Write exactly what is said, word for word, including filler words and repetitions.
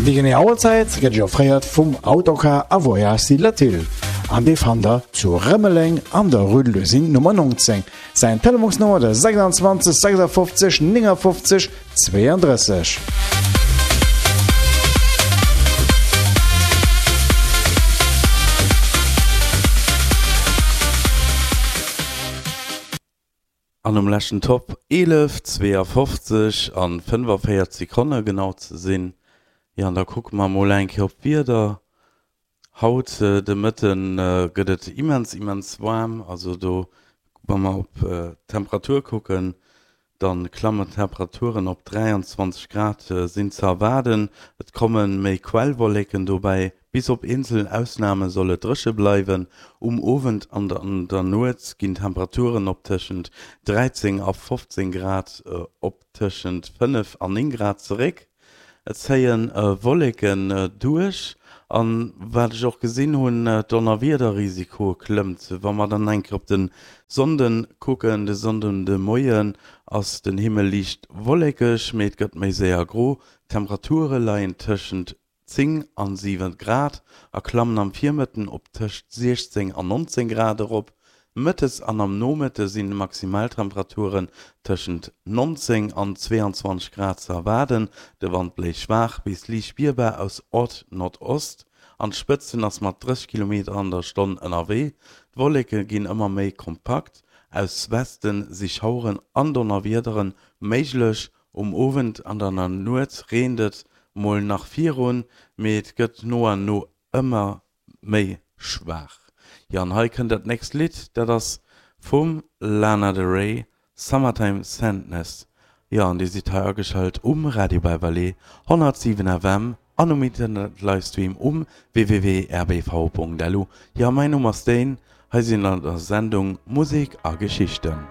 Déi genee Auerzäit gëtt Iech offréiert vum Autocar a Voyages Latil an dee fannt der zu Rëmeleng an der Rue de l'Usine Nummer neunzéng. Säin Telefonsnummer de sechsundzwanzeg sechsundfünfzig neunundfünfzig zweiunddrësseg. An um leschten Topp eelef, zweeafofzeg an fënnefaféierz Sekonne genau ze sinn. Jo, an da kucke mer mol eng Kéier op d'Wieder. Haut de Mëtte gëtt et immens, immens waarm. Also do, wa mer op d'Temperatur kucken, da klammen d'Temperaturen op dräianzwanzeg Grad sinn ze erwaarden. Et komme méi Quellwolleken dobäi. Bis op eenzel Ausname soll et dréche bleiwen. Um Owend an an der Nuet ginn d'Temperaturen op tëschent dräizéng a fofzéng Grad op tëschent fënnef an néng Grad zeréck. Et zéie Wolleken duerch an wat ech och gesinn hunn, d'Donnerwiederrisiko klëmmt. Wa mer dann eng Kéier op de Sonnden kucken, de Sonnden de Moien ass den Himmel liicht wollekeg, mee et gëtt méi séier gro. D'Temperature leien tëschent zéng an siwen Grad a klammen am Virmëtten op tëscht siechzéng an nonzéng Grad erop. Mëttes an am Nomëtte sinn Maximaltemperaturen tëschent nonzéng an zweeanzwanzeg Grad ze erwaarden. De Wand bléist schwaach bis liicht spierbar aus Ord-Nordost. An d'Spëtzen ass mat drësseg Kilometer an der Stonn ënnerwee. D'Wolleke ginn ëmmer méi kompakt, aus Weste si Schaueren an Donnerwiedere méiglech. Um Owend an an der Nuet reent et mol nach virun, mee et gëtt no an no ëmmer méi schwaach. Jo, an hei kënnt dat nächst Lidd, dat ass vum Lana Del Rey, Summertime Sadness. Jo, an dir sidd hei ageschalt um Radio Beverley honnertsiwen F M an um Internet-Livestream um w w w punkt r b v punkt l u. Jo, mäin Numm ass Dane, hei sinn an der Sendung Musek a Geschichten.